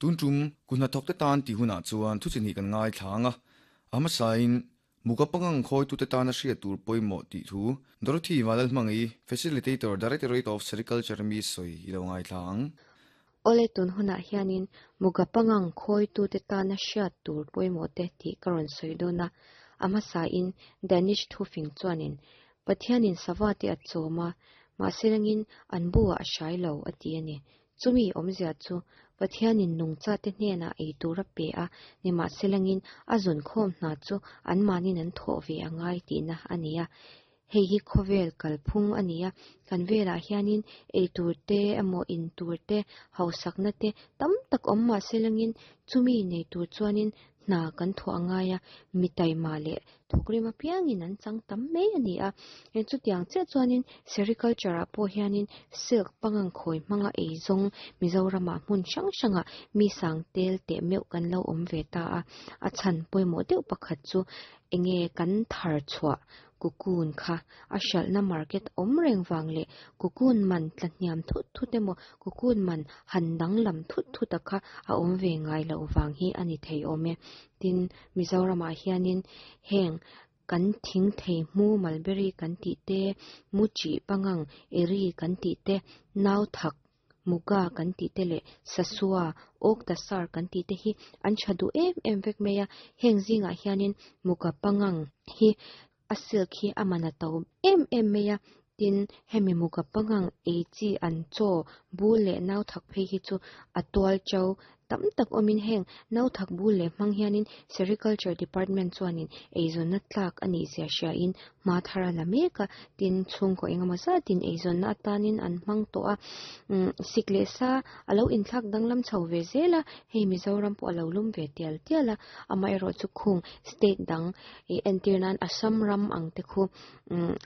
Tun tum kuthnathawkte tan tih hunah chuan thu chi hnih kan ngaithla ang a, a hmasain Muka pangang khawitute tana hriat tur pawimawh tih thu Dorothy Vanlalhmangi, Facilitator, Directorate of Sericulture mi sawi i lo ngaithla ang. Awle tun hunah hianin Muka pangang khawitute tana hriat tur pawimawh te tih ka rawn sawi dawn a, a hmasain Danish thufing chuanin Pathianin sava te a chawm a, mahse rengin an buah a hrai lo a ti a ni. Chumi awmzia chu Pathianin nungchate hnenah ei tur a pe a, nimahselangin a zawnkhawm hna chu anmahnin an thawh ve a ngai tihna a ni a. Hei hi khawvel kalphung a ni a, kan velah hianin ei tur te emaw in tur te, hausakna te tam tak awm mahselangin chumi nei tur chuanin hna kan thawh a ngai a, mi taima leh thawkrim apiangin an chang tam mai a ni a. Chutiang chiah chuanin sericulture ah pawh hianin silk pangang khawi hmanga eizawng Mizoramah hmun hrang hrangah mi sang tel teh meuh kan lo awm ve ta a. A chhan pawimawh deuh pakhat chu enge kan thar chhuah cocoon kha a hralhna market awm reng vang leh cocoon man tla hniam thut thut emaw cocoon man han danglam thut thut a kha a awm ve ngai loh vang hi a ni thei awm e. Tin, Mizoramah hianin heng kan thing thei hmu mulberry kan tih te, mu chih pangang eri kan tih te, nau thak muga kan tih te leh sasua, awk tasar kan tih te hi an tha duh em em vek mai a. Heng zingah hianin muga pangang hi a silk hi a man a to em em mai a. Tin, hemi muga pangang ei chi an chaw bul leh nau thak phei hi chu a tual to tam tak awmin heng nau thak bul leh hmang hianin Sericulture Department chuanin eizawnna tlak a nih zia hriain hma thar a la mek a, tin chhungkaw engemaw zatin eizawnna atanin an hmang tawh a, sik leh sa a lo inthlak danglam chho ve zel a, hei Mizoram pawh a lo lum ve tial tial a, amaherawhchu khung state dang ih entir nan Assam ram ang te khu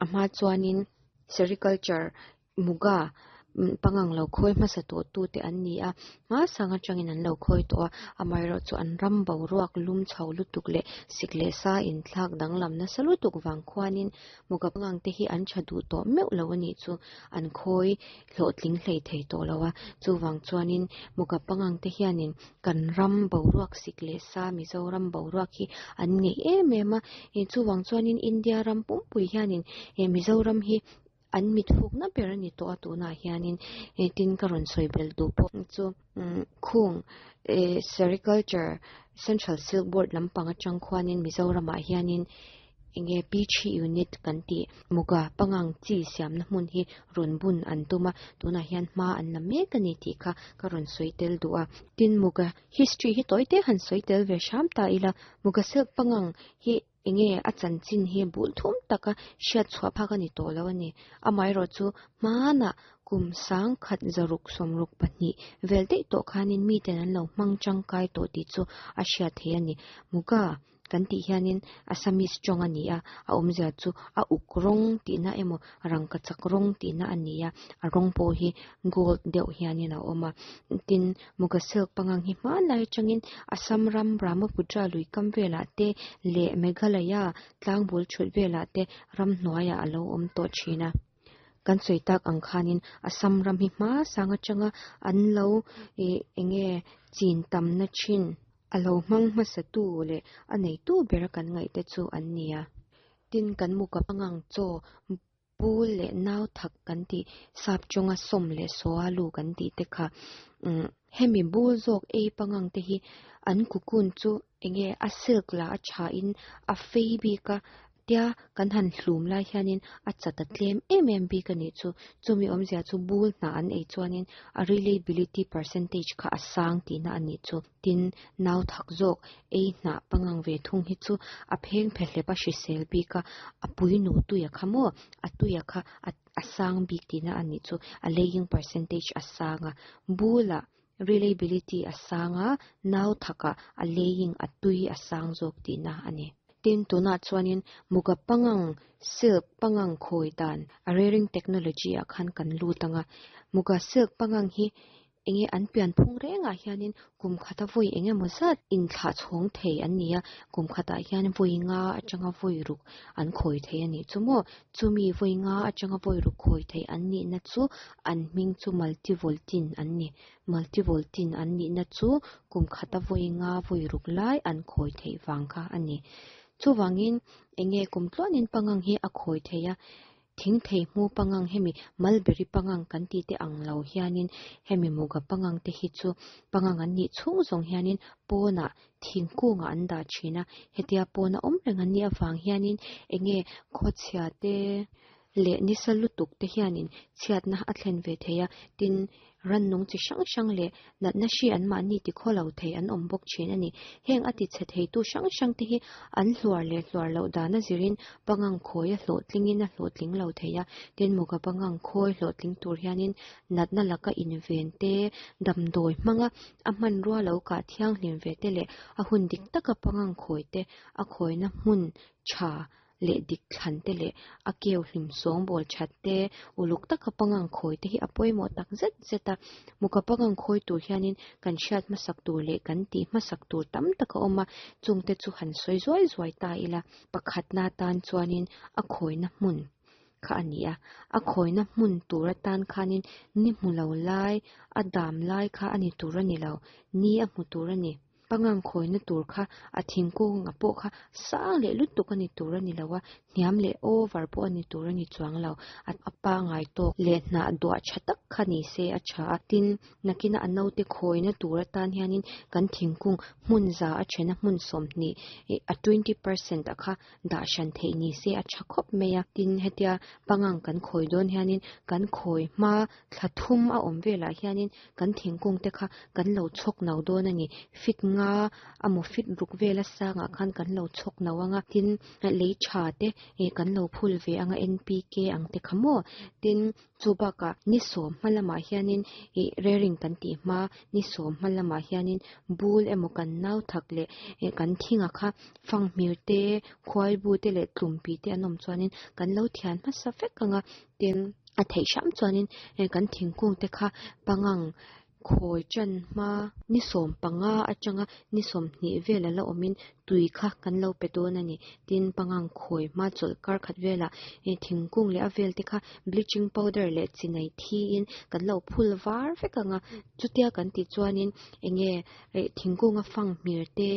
a hma chuanin Sericulture Muga pangang lo khawi hmasa tawh tu te an ni a, hmasang atangin an lo khawi tawh a, amaherawh chu an ram boruak lum chho lutuk leh sik leh sa inthlak danglam nasa lutuk vang khuanin Muga pangang te hi an tha duh tawh meuh lo a nih chu an khawi hlawhtling hlei thei tawh lo a, chuvang chuanin Muga pangang te hianin kan ram boruak sik leh sa Mizoram boruak hi an ngeih em em a, chuvang chuanin India ram pumpui hianin Mizoram hi An mit fukna ber a ni tawh a tunah hianin tin ka rawn sawi belh duh pawh chu khung eh sericulture central silk board lampang atang khuanin Mizoramah hianin enge P three unit kan tih muga pangang chi siamna hmun hi rawn bun an tum a tunah hian hma an la mek a ni tih kha ka rawn sawi tel duh a tin muga history hi tawi te han sawi tel ve hram ta ila muga silk pangang hi Enge a chanchin hi bul thum taka hriat chhuah phak a ni tawh lo a ni. Amaherawhchu hmanah kum sangkhat zaruk 62 vel daih tawh khanin miten an lo hmang tangkai tawh tih chu a hriat theih a ni. Muga kan tih hianin Assamese tawng a ni a, a awmzia chu a uk rawng tihna emaw rangkachak rawng tihna a ni a, a rawng pawh hi gold deuh hianin a awm a. Tin, Muga silk pangang hi hmanlai atangin Assam ram Brahmaputra lui kam velah te leh Meghalaya tlangbul thut velah te ramhnuaiah a lo awm tawh thin a. Kan sawi tak ang khanin Assam ram hi hmasang atanga an lo ih enge chin tamna thin a lo hmang hmasatu leh a neitu bera kan ngaih te chu an ni a. Tin, kan Muga pangang chaw Pu leh nau thak kan tih sap chawnga sawm leh saw lu kan tih te kha umm hemi bul zawk ei pangang te hi an cocoon chu enge a silk lah a tha in a fei bik a tia kan han hlum lai hianin a chat a tlem em em bik a nih chu chumi awmzia chu bul hnah an ei chuanin a reliability percentage kha a sang tihna a nih chu. Tin, nau thak zawk ei hnah pangang ve thung hi chu a pheng phe hlep a hrisel bik a, a pui nu tuia kha maw, a tuia kha a a sang bik tihna a nih chu, a laying percentage a sang a, bulah reliability a sang a, nau thakah a laying a tui a sang zawk tihna a ni. Tin, tunah chuanin muga pangang, silk pangang khawi dan, a rearing technology ah khan kan lut ang a, muga silk pangang hi. Enge an pianphung rengah hianin kum khata vawi eng emaw zat inthlah chhawng thei an ni a, kum khatah hian vawi nga atanga vawi ruk an khawi thei a nih chu maw? Chumi vawi nga atanga vawi ruk khawi thei an nihna chu an hming chu multivoltine an ni. Multivoltine an nihna chu kum khata vawi nga vawi ruk lai an khawi theih vang kha a ni. Chuvangin enge kum tluanin pangang hi a khawi thei a, Thing thei hmu pangang hemi mulberry pangang kan tih te ang lo hianin hemi muga pangang te hi chu pangang an nih chhung zawng hianin pawnah thingkungah an dah thin a, hetia pawna awm reng an nih avang hianin enge khawchhia te leh nisa lutuk te hianin chhiatna a thlen ve thei a, tin Rannung chi hrang hrang leh natna hri anmahni ti khaw lo thei an awm bawk thin a ni. Heng a ti chhe theitu hrang hrang te hi an hluar leh hluar loh dan a zirin pangang khawi a hlawhtlingin a hlawhtling lo thei a. Tin, Muga pangang khawi hlawhtling tur hianin natna laka inven te, damdawi hmanga a hmanrua lo kah thianghlim ve te leh a hun dik taka pangang khawi te a khawina hmun tha leh dik thlan te leh a keu hlim sawngbawl that te, uluk taka pangang khawi te hi a pawimawh tak zet zet a. Muka pangang khawi tur hianin kan hriat hmasak tur leh kan tih hmasak tur tam tak a awm a, chungte chu han sawi zuai zuai ta ila, pakhatna atan chuanin a khawina hmun kha a ni a, a khawina hmun tur atan khanin ni hmu lo lai, a dam lai kha a ni tur a ni lo, ni a hmu tur a ni. Pangang khawina tur kha a thingkung a pawh kha sang leh lutuk a ni tur a ni lo a, hniam leh over pawh a ni tur a ni chuang lo. A pangai tawk leh hnah duah tha tak kha ni se a tha a, tin nakina a naute khawina tur atan hianin kan thingkung hmun za a thena hmun 20 a 20% a kha dah hran theih ni se a tha khawp mai a. Tin hetia pangang kan khawi dawn hianin kan khawi hma thla thum a awm velah hianin kan thingkung te kha kan lo chhawk no dawn a ni. Fit nga amaw fit ruk vela sangah khan kan lo chhawk no ang a, tin lei tha te ih kan lo phul ve ang a NPK ang te kha maw. Tin chu bakah ni sawm hma lamah hianin ih rearing kan tih hma ni sawm hma lamah hianin bul emaw kan nau thak leh ih kan thinga kha fanghmir te khuaibu te leh tlumpi te an awm chuanin kan lo thian hmasa vek ang a, tin a theih hram chuanin heng kan thingkung te kha pangang khawi tan hma ni 15 atanga ni 20 vel a la awmin tui kha kan lo pe dawn a ni. Tin, pangang khawi hma chawlh kar khat velah heng thingkung leh a vel te kha bleaching powder leh chinai thiin kan lo phul var vek ang a, chutia kan tih chuanin eng nge thingkunga fanghmir te,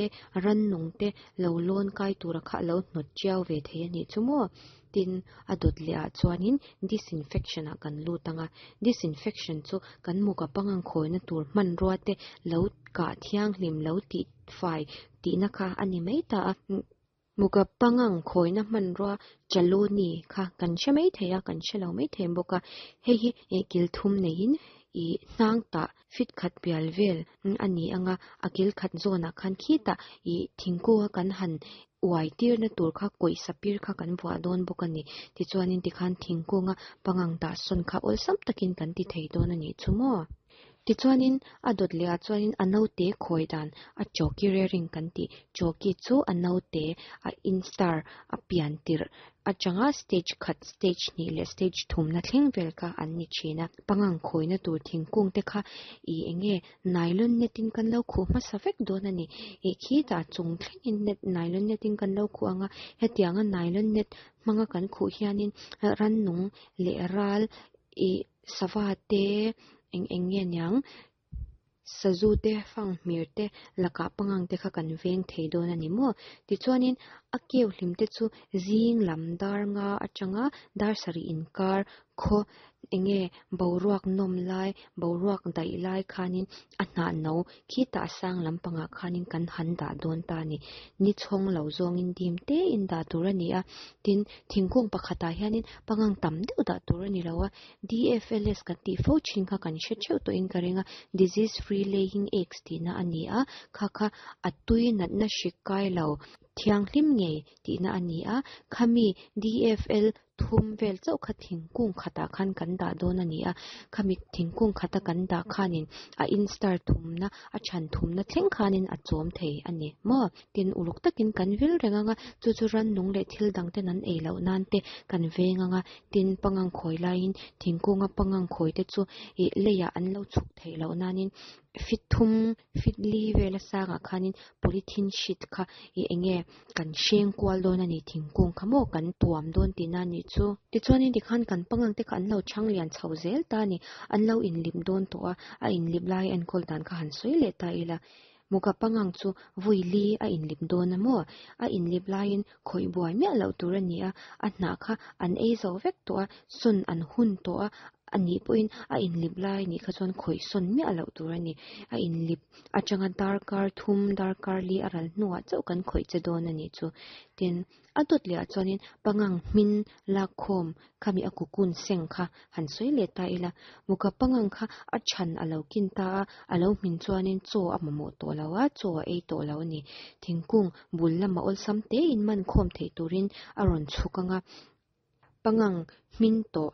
rannung te lo lawn kai tura kha a lo hnawt chiau ve thei a nih chu maw? Tin, a dawt leh ah chuanin disinfection ah kan lut ang a, disinfection chu kan muka pangang khawina tur hmanrua te lo kah thianghlim lo tih fai tihna kha a ni mai ta a. Muka pangang khawina hmanrua chaloni kha kan hre mai thei a, kan hre lo mai thei bawk a, hei hi kil thum neiin ih hnang tah fit khat pial vel a ni ang a, a kil khat zawnah khan khitah ih thingkunga kan han uai tirna tur kha kawih sapir kha kan vuah dawn bawk a ni. Tichuanin tikhan thingkunga pangang dah sawn kha awlsam takin kan ti thei dawn a nih chu maw? Tichuanin a dawt leh ah chuanin a naute khawi dan a chawki rearing kan tih chawki chu a naute a instar a pian tirh atanga stage khat stage hnih leh stage thumna thleng vel kha an ni thin a. Pangang khawina tur thingkung te kha ih eng nge nylon net in kan lo khuh hmasa vek dawn a ni. Ih khitah chung thlengin net nylon net in kan lo khuh ang a, hetianga nylon net hmanga kan khuh hianin rannung leh ral ih sava te eng eng nge niang sazu te fanghmir te lakah pangang te kha kan veng thei dawn a ni maw? Tichuanin a keu hlim te chu zing lam dar nga atanga dar sarih inkar khaw eng nge boruak nawm lai boruak daih lai khanin a hnah no khitah a sang lampangah khanin kan han dah dawn ta a ni. Ni chhawng lo zawngin dim tein dah tur a ni a, tin thingkung pakhatah hianin pangang tam deuh dah tur a ni lo a, DFLS kan tih fo thin kha kan hre theuh tawhin ka ring a, Disease Free Laying Eggs tihna a ni a, kha kha a tui natna hrik kai lo thianghlim ngei tihna a ni a, khami DFL. thum vel chauh kha thingkung khatah khan kan dah dawn a ni a, khami thingkung khata kan dah khanin a instar thumna a chhan thumna thleng khanin a chawm thei a ni maw? Tin, uluk takin kan vil reng ang a, chu chu rannung leh thil dang ten an ei loh nan te kan veng ang a, tin pangang khawi laiin thingkunga pangang khawi te chu ih leiah an lo chhuk theih loh nanin fit thum fit li vel a sangah khanin polythene sheet kha ih eng nge kan hreng kual dawn a ni thingkung kha maw kan tuam dawn tihna a nih chu. Tichuanin tikhan kan pangang te kha an lo chhang lian chho zel ta a ni, an lo inlip dawn tawh a, a inlip lai enkawl dan kha han sawi leh ta ila. Muka pangang chu vui li a inlip dawn a maw? A inlip laiin khawih buai miah loh tur a ni a, a hnah kha an ei zo vek tawh a, sawn an hun tawh a, a nih pawhin a inlip lai nih kha chuan khawih sawn miah loh tur a ni. A inlip atanga darkar thum, darkar li a ral hnuah chauh kan khawih che dawn a nih chu. Tin, a dawt leh ah chuanin pangang hmin lakkhawm khami a cocoon seng kha han sawi leh ta ila, muka pangang kha a chhan a lo kin ta a, a lo hmin chuanin chaw a mamawh tawh lo a, chaw a ei tawh lo a ni. Thingkung bul lama awlsam tein man khawm theih turin a rawn chhuk ang a, pangang hmin tawh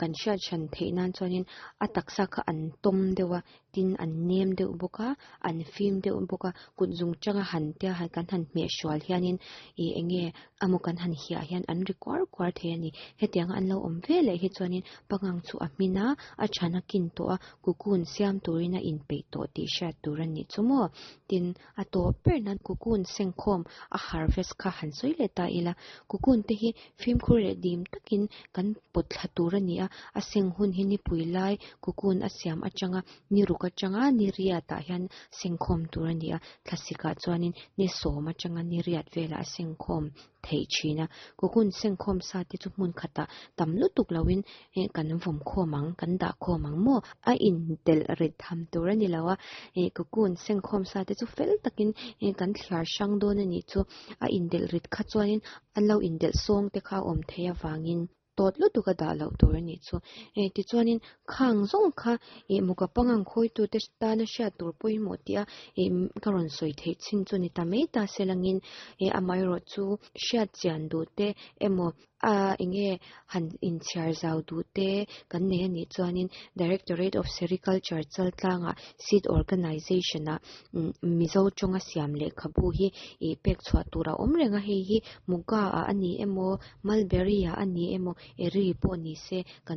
kan hriat hran theih nan chuanin a taksa kha an tawm deuh a, tin an nem deuh bawk a, an fim deuh bawk a, kut zung tanga han tia kan han hmeh hrual hianin ih eng nge emaw kan han hiah hian an ri kuar kuar thei a ni. Hetianga an lo awm ve leh hi chuanin pangang chu a hmin a, a than a kin tawh a, cocoon siam turin a inpeih tawh tih hriat tur a nih chu maw? Tin, a tawp ber nan cocoon sengkhawm a harvest kha han sawi leh ta ila, cocoon te hi fimkhur leh dim takin kan pawt thla tur a ni a, a seng hun hi nipui lai cocoon a siam atanga ni ruk atanga ni riat ah hian sengkhawm tur a ni a, thlasik ah chuanin ni sawm atanga ni riat velah a sengkhawm theih thin a, cocoon sengkhawm sa te chu hmun khatah tam lutuk loin eh kan vawm khawm ang, kan dah khawm ang maw? A intelh rit tham tur a ni lo a, eh cocoon sengkhawm sa te chu fel takin eh kan thliar hrang dawn a nih chu, a indelh rit kha chuanin an lo indelh sawng te kha a awm theih avangin tawt lutuk a dah loh tur a nih chu. Eh tichuanin khang zawng kha eh muka pangang khawitute tana hriat tur pawimawh tih a eh ka rawn sawi theih chin chu ni ta mai ta se langin eh amaherawh chu hriat chian duh te emaw A enge han inchhiar zau duh te kan nei a nih chuanin Directorate of Sericulture Chaltlangah Seed Organization ah Mizo tawnga siam lehkhabu hi ih pek chhuah tur a awm reng a, hei hi Muga ah a ni emaw Mulberry ah a ni emaw Eri pawh ni se kan.